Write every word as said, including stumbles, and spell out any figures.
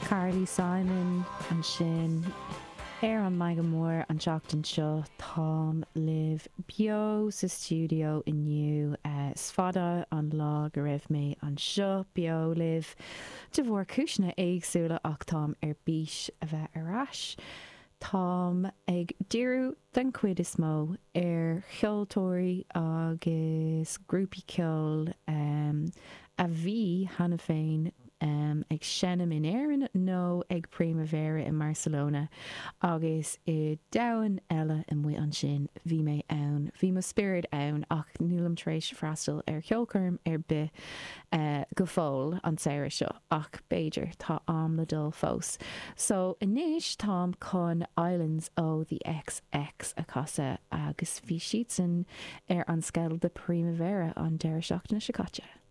Carly Simon ansin ar an Meangadh Mór an tseachtain seo táim libh beo sa stiúideo inniu is fada an lá go raibh mé anseo beo libh de bharr cúiseanna éagsúla ach táim ar bís a bheith ar ais. Táim ag díriú den chuid is mó ar cheoltóirí agus grúpaí ceoil um, a bhí cheana féin um, ag seinm in Éirinn nó ag Primavera i Barcelona agus i domhan eile amuigh ansin bhí mé ann, bhí mo spiorad ann ach nílim tar éis freastal ar cheolchoirm ar bith uh, go fóill an samhradh seo ach b'fhéidir tá am le dul fós. So anois táim chun Islands ó the XX a chasadh agus bhí siadsan ar an scéal de Primavera an deireadh seachtaine seo caite.